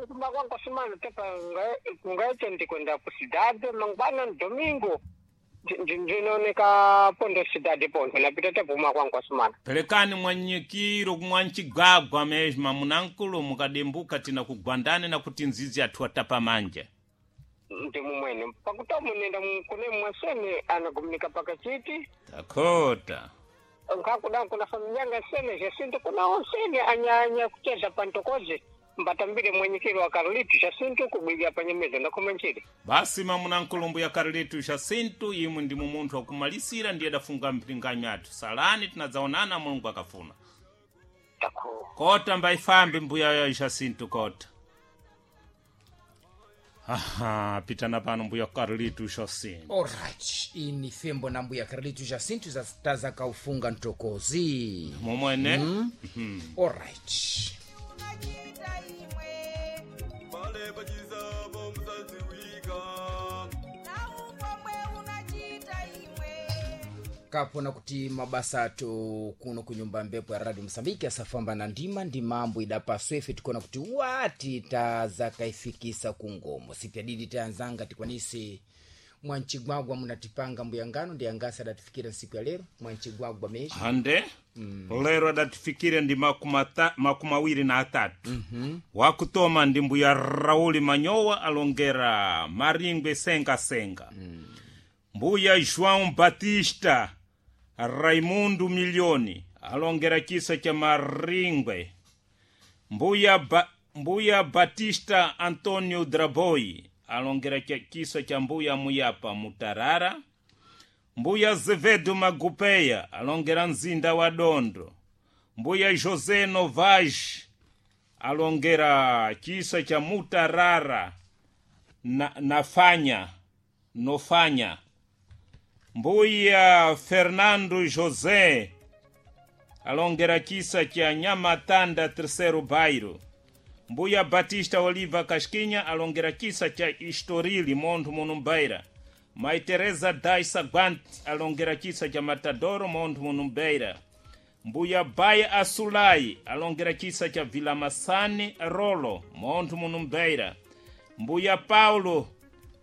Kumakwangu sumana tepa kungaite ndikwenda kusidade mangwana domingo ndinooneka pondo sidade pondo napita tepa umakwangu sumana. Pelekani mwanyikiro kumwanchigwagwa mesma munankulu mukadembuka tina kugwandane na kuti nzizi athu atapa manja. Ndi mumwene pakuti munenda kune mwasene anagumnika pakachiti. Takota. Nkakuda kuna familia yanga sene Jacinto kuna onsene anyanya kucheza pantokoze mbatambire mwenyekero wa Carlitos Jacinto kubwiga panyemeza ndakomanchire. Basi mamunankulu mbuya Carlitos Jacinto imwe ndi munthu wakumalisira ndiye adafunga mpinganyo athu. Salani tinadzaonana Mulungu akafuna. Tako. Kota mbaifambi mbuya Jacinto kota. Aha, pitana pano mbuya Carlitos Jacinto. Alright, ini fembo na mbuya Carlitos Jacinto tazakaufunga ntokozi. Momwene. Alright. Unachita imwe Pale pachizabo musadziwika. Na upomwe unachita imwe Kapona kuti mabasa ato kuno kunyumba mbepo ya radio Mosambiki asafamba na ndima ndi mambo idapaswa ife tikuona kuti wati tazakaifikisa kungomo sipyadidi tayanzanga tikwanise mwanchigwagwa munatipanga mbuyangano ndi angasi adatifikira nsiku ya lero mwanchigwagwa mesha Hande lero adatifikire ndi 23. Wakutoma ndi mbuya Rauli Manyowa alongera Maringwe Senga Senga. Mbuya João Batista Raimundo Milioni alongera chisa cha Maringwe. Mbuya Batista Antonio Draboi alongera chisa cha mbuya Muyapa Mutarara. Mbuya Zevedo Magupeya alongera mzinda wa Dondo. Mbuya José Novas alongera chisa cha Mutarara na, nafanya nofanya. Mbuya Fernando José alongera chisa cha Nhamatanda Terceiro Bairro. Mbuya Batista Oliva Casquinha alongera chisa cha Estoril Monte Munumbeira. Mai Teresa Daisa Guant alongera chisa cha Matadoro Monte Munumbeira. Mbuya Baia Asulai alongera chisa cha Vila Massane Rolo Monte Munumbeira. Mbuya Paulo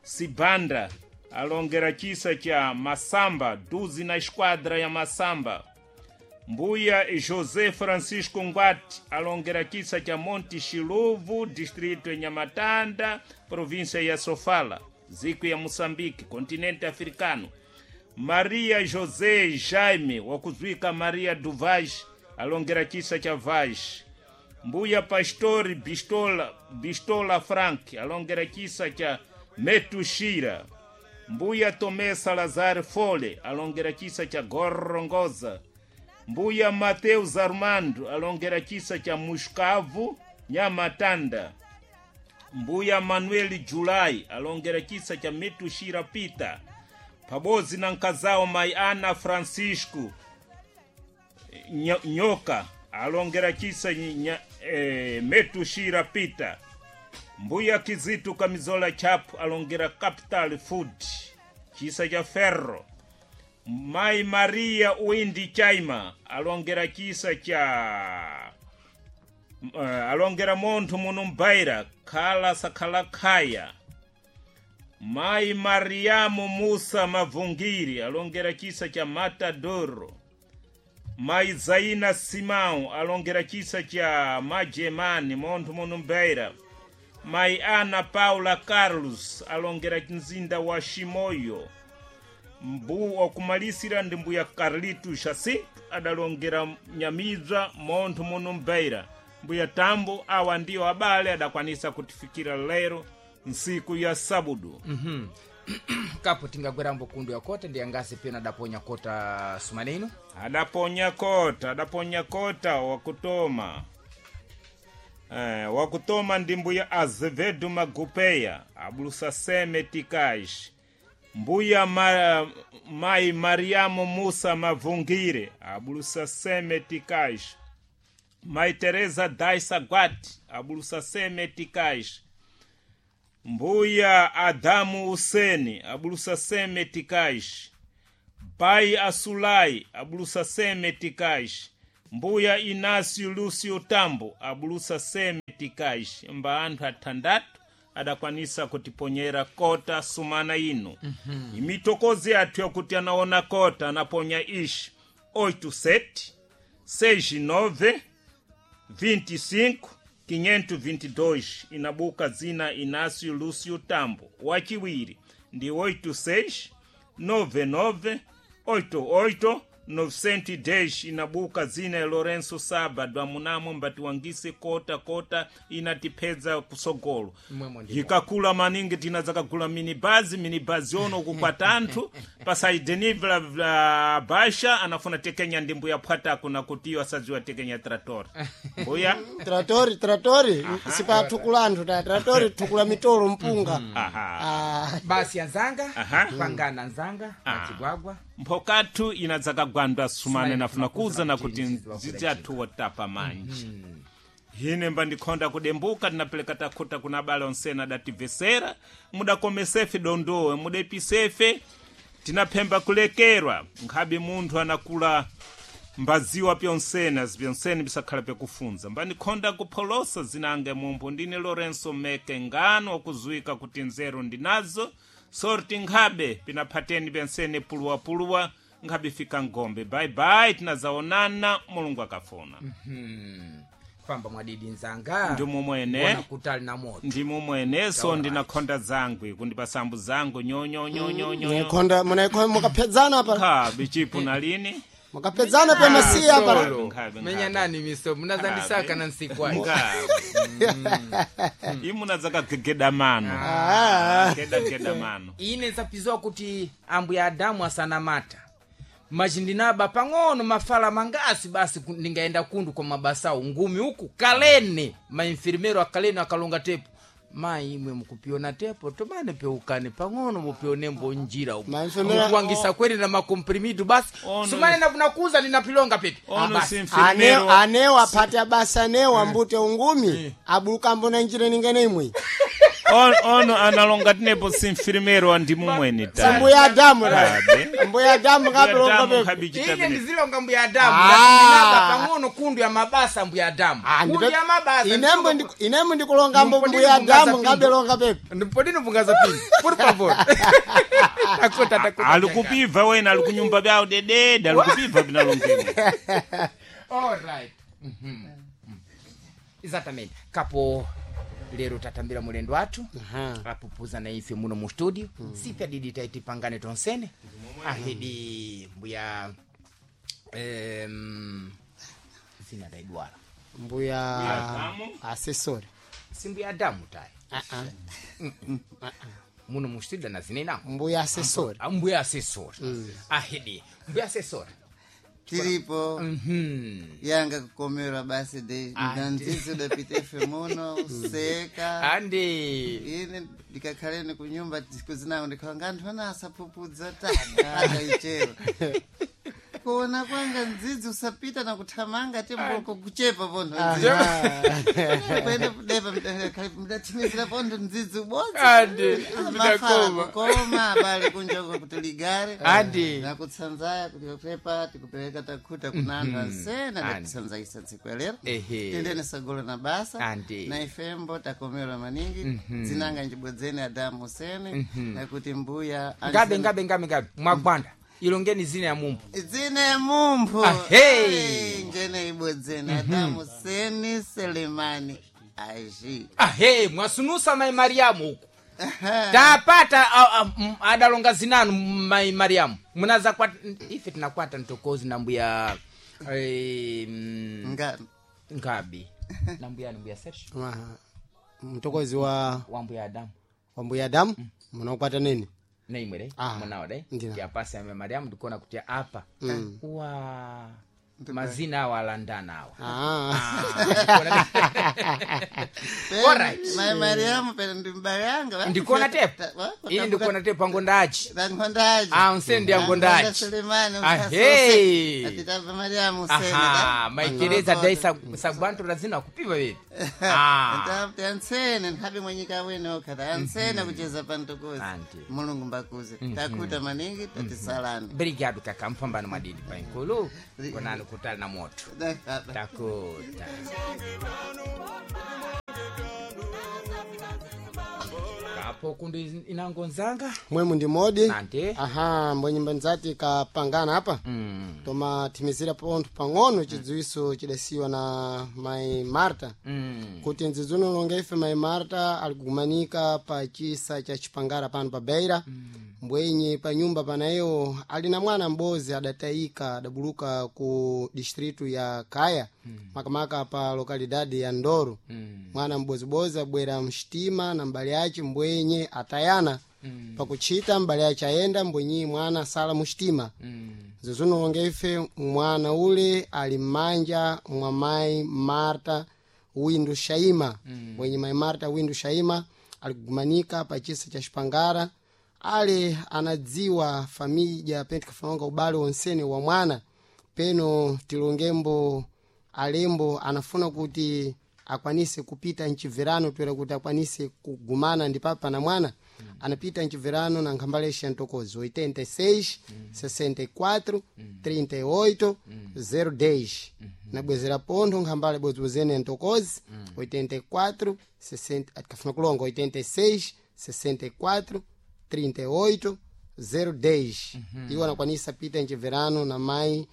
Sibanda alongera chisa cha Masamba duzi na esquadra ya Masamba. Mbuya José Francisco Ngwati alongera chisa cha Monte Chiluvo, distrito ya Nhamatanda, província ya Sofala, ziku ya Moçambique, continente africano. Maria José Jaime wakuzwika Maria do Vaz alongera chisa cha Vaz. Mbuya Pastori Bistola Frank alongera chisa cha Metushira. Mbuya Tomé Salazar Fole alongera chisa cha Gorongosa. Mbuya Mateus Armando alongera chisa cha Muscavu Nhamatanda. Mbuya Manuel Julai alongera chisa cha Metushira Pita pabodzi na nkazao mai Ana Francisco Nyoka alongera chisa Metushira Pita. Mbuya Kizitu Kamizola Chapu alongera Capital Food chisa cha Ferro. Mai Maria Windi Chaima alongera chisa cha alongera monthu munumbaira khala sakhala khaya. Mai Mariamu Musa Mavungiri alongera chisa cha Matadoro. Mai Zaina Simão alongera chisa cha Majemani monthu munumbaira. Mai Ana Paula Carlos alongera mzinda wa Shimoyo. Mbu wakumalisira ndi mbuya Carlito Jacinto adalongera Nyamidza monthu munumbeira. Mbuya Tambo awa ndiyo abale adakwanisa kutifikira lero nsiku ya sabudu. Kapo tingagwerambo kundu ya kota ndi angasi pena adaponya kota sumaneno. Adaponya kota wakutoma. Wakutoma ndi mbuya Azevedo Magupeya abulusa seme tikaj. Mbuya mai Mariamu Musa Mavungire abulusa seme tikaj. Mai Teresa Daisa Guati abulusa seme tikaj. Mbuya Adamu Useni abulusa seme tikaj. Pai Asulai abulusa seme tikaj. Mbuya Inácio Lúcio Tambo abulusa seme meticais mba anthu athandatu adakwanisa kutiponyera kota sumana ino. Imitokozi yathu yakuti anaona kota anaponya ishi 87 69 25 522 inabuka zina Inácio Lúcio Tambo. Wachiwiri ndi 86 99 88 910 inabuka zina ya Lourenço Sábado amunamo mbatiwangise kota kota inatipedza kusogolo. Mwemo ndimo. Ikakula maningi tinadzakagula minibazi minibazi ono kukwata anthu pasaidenivla vla basha anafuna tekenya ndi mbuya phwatako nakuti iyo asadziwa tekenya trator mbuya. Tratori, tratori sipathukula anthu ta tratori thukula mitolo mpunga. Aha. Ah, Basi anzanga. Aha. Pangana anzanga achigwagwa. Mphokathu inadzakagwandwa sumane nafuna kuza nakuti Nzizi wakuda nzizi athu wotapa manji hine mbandikhonda kudembuka tinapeleka takhuta kuna abale onsena adativesera mudakomesefe dondowe mudepisefe tinaphemba kulekerwa nkhabe munthu anakula mbaziwa pyonsena pyonsene bisakhala pyakufunza mbandikhonda kupholosa zinange mumphu ndine Lourenço Meke ngano okuzuwika kuti nzeru ndinazo sorti nkhabe pinaphateni pyensene puluwapuluwa nkhabe fika ngombe bye tinazaonana Mulungu akafuna. Famba mwadidi nzanga. Ndi mumwene. Bona kutali na moto. Ndi mumweneso ndinakhonda zangu kundipasambu zangu nyonyonyonyonyo. Munayikhonda munayikhonda mukapedzana pa Nkhabe chipu nalini. Mukapedzana pa masiya pa. Solo. Nkhabe, Menya nkhabe. nani miso munazandisaka na nsiku ayi. Nkhabe imuna zakagegeda mano. Ah. Gedageda mano. Ine nsapiziwa kuti ambuya Adamu asanamata macindinaba pang'ono mafala mangasi basi ndingaenda kundu kwa mabasawu ngumi uku kalene mainfirmero akalene akalonga tepo mayi imwe mukupiona tepo tomane peukane pang'ono mupionembo njira uku Mainfirmero- mukuwangisa kwene na makomprimido basi. Ono- Sumane nakunakuza ninapilonga pepi. Ono Basi. si mfirmero. Anewo aphati abasa anewo ambute ungumi abulukambo na njira ningene imwe. Ono analonga tinepo si mfirmero andi mumwene ta. Mbuya Adamu ra. Kabe. Mbuya Adamu kapilonga Adamu pepe. nkhabe Ine chitabine. ndizilonga mbuya Adamu. Ah. Ndinaba pang'ono kundu ya mabasa mbuya Adamu. Ah, Kundu ya mabasa. inembo inembo ndikulongambo mbuya Adamu ngabelonga pepe. Ndipodino pungaza pini. Por favor. Takota takota. Alikupibva wena alikunyumba byawo dedede alikupibva binalongeni. All right. Exatamente. Kapo lero tatambira mulendo wathu apupuza na ife muno mu studio. Sipya didi taiti pangane tonsene ahidi mbuya zina taidwala. Mbuya Adamu. asesori. Si mbuya Adamu tayi muno mu studio na zinenamo. Mbuya asesori. Ah, mbuya asesori. Ahidi mbuya asesori. Tiripo. Yanga kukomerwa basi de nanzizi udapita ife muno useka. Andi. Ine ndikakhaleni kunyumba kuzinango ndikhala nganthu ana asapupudza tani akaichero kuona kwanga ndzidzi usapita na kuthamanga temboko kuchepa pontho kwene kudepa mdathimizira pontho ndzidzi ubodzi. Andi. Mafala kukoma abale kunjoko kuti ligare. Andi. Nakutsanzaya kuti pepa tikupereka takhuta kuna anthu ansena. Andi. Ndakutsanzayisa tsiku ya lero. Ehe. Tendene sagolo na basa. Andi. Na ifembo takomerwa maningi dzinanga njibodzeni Adamu Usene nakuti mbuya Ngabe ngabe ngabe ngabe mwagwanda ilongeni zina ya mumbu. Dzina ya mumphu. Ahei. Ei, njene ibodzeni Adamu Seni Selemani aji. Ahe mwasunusa mai Mariamu uku tapata adalonga zinanu mai Mariamu munaza kwa ife tinakwata ntokozi na mbuya Ngabi. Ngabi na mbuya ni mbuya Sergio. Aha. Mtokozi wa wa mbuya Adamu. Wa mbuya Adamu munakwata nini? Naimwe dai Ah, munawo dai ndina. yapasi ya Mariamu ndikuona kuti apa wa mazina awo alandana awa. Ah. Alright. Mai Mariamu pera ndi mbale yanga. Ndikuona tepo ini ndikuona tepo angondachi. Angondaji. Ah, unsende angondachi. Selemani. Ahei. Atitapa Mariamu usene. Aha, maikereza dai sagwanto razina kupiva vepi. Ah. Tansene nkhabe mwenyika wene okha tansene kucheza pantokozi. Andi. Mulungu mbakuze takuta maningi tatisalani. Obrigado kaka mpambano madidi painkulu konani kutali na moto takuta. Pano, Napo kundi inango nzanga Mwemu ndi modi. Nante. Aha, mbwenyimba nzati kapangana apa. Tomathimizira pontho pang'ono chidziwiso chidasiwa na mai Marta. Kuti ndzidzuno longa ife mai Marta ali kugumanika pa chisa cha Chipangara pano pa Beira. Mbwenye pa nyumba panayo ali na mwana m'bozi adatayika adabuluka ku distritu ya Kaya. Makamaka pa lokalidade ya Ndoro. Mwana m'bozibozi abwera mxitima na mbale ace mbwenye atayana. Pakuchita mbale ace ayenda mbwenyi mwana asala muxitima. Zozunonga ife mwana ule ali m'manja mwa mayi Marta Windu Shaima. Mbwenye mayi Marta Windu Shaima alikugumanika pa chisa cha Xipangara ale anadziwa famija pene tikafananga ubale wonsene wa mwana peno tilongembo alembo anafuna kuti akwanise kupita mchibverano toera kuti akwanise kugumana ndi papa na mwana anapita mchibverano na nkhambalexi ya ntokozi 86 64 38 010 nabwezera pontho nkhambale bwezibwezene ya ntokozi 84 60 atikafuna kulonga 86 64 38 010 iwo anakwanisa pita mchibverano na mayi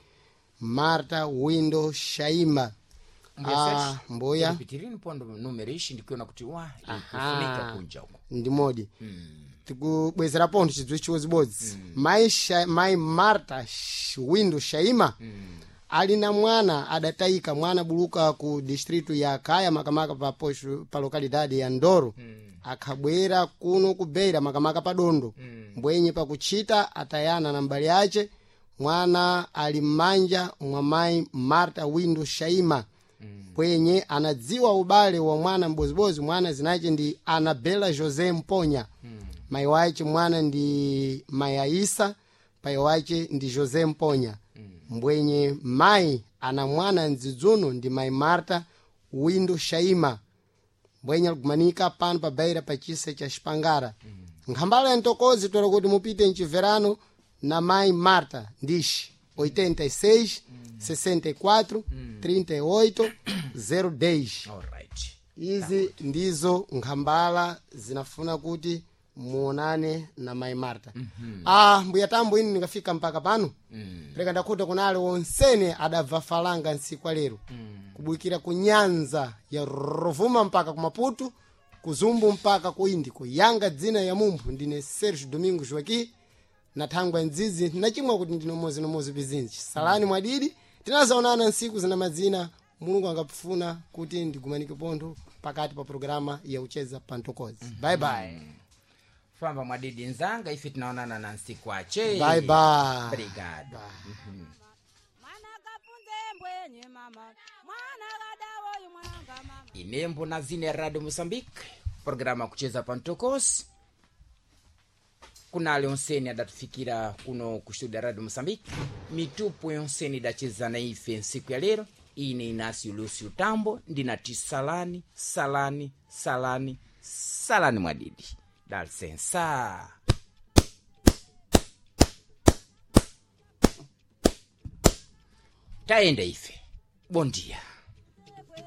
Marta Windo Shaima. Ah, mbuya pitirini pondo numero ishi ndikuona kuti wa ikufunika kunja uko ndi modi tikubwezera pontho chidziwiso chiwodzibodzi mai, mai Marta Windo Shaima ali na mwana adatayika mwana buluka ku distritu ya Kaya makamaka pa, posho, pa lokalidade ya Ndoro akhabwera kuno ku Beira makamaka pa Dondo mbwenye pakuchita atayana na mbale ace mwana ali m'manja mwa mayi Marta Windo Shaima mbwenye anadziwa ubale wa mwana m'bozibozi mwana zinace ndi Anabela José Mponya mayi wace mwana ndi mayi Aisa payi wace ndi José Mponya mbwenye mayi ana mwana mdzidzuno ndi mayi Marta Windo Shaima mbwenye alikumanika pano pa Beira pa chisa cha Xipangara nkhambala ya ntokozi toera kuti mupite mchibverano na mayi Marta ndixi 86 64 38 010 alright izi ndizo nkhambala zinafuna kuti muonane na mayi Marta. Ah, mbuya tambo ine ndingafika mpaka pano pereka ndakhuta kunale wonsene adabva falanga ntsiku lero kubwikira ku nyanza ya Rovuma mpaka ku Maputo kuzumbu mpaka ku Indi kuyanga dzina ya mumphu ndine Sergio Domingo Joaquim na thangwa ndzizi nachimwa kuti ndine umodzi pizinji salani mwadidi tinazaonana ntsiku zina madzina mulungu angapfuna kuti ndigumanike pontho pakati pa programa ya ucheza pantokozi bye bye famba mwadidi nzanga ife tinaonana na nsiku ache bye bye obrigado Mwana kapunze mbwenye mama, mwana kadawoyu mwananga mama. inembo na zine radio Moçambique programa kucheza pantokosi kunale onseni adatufikira kuno ku studio ya radio Moçambique mitupo yonseni idacheza na ife nsiku ya lero ine Inácio Lúcio Tambo ndinati salani salani salani salani mwadidi dalisensa tayenda ife bom dia.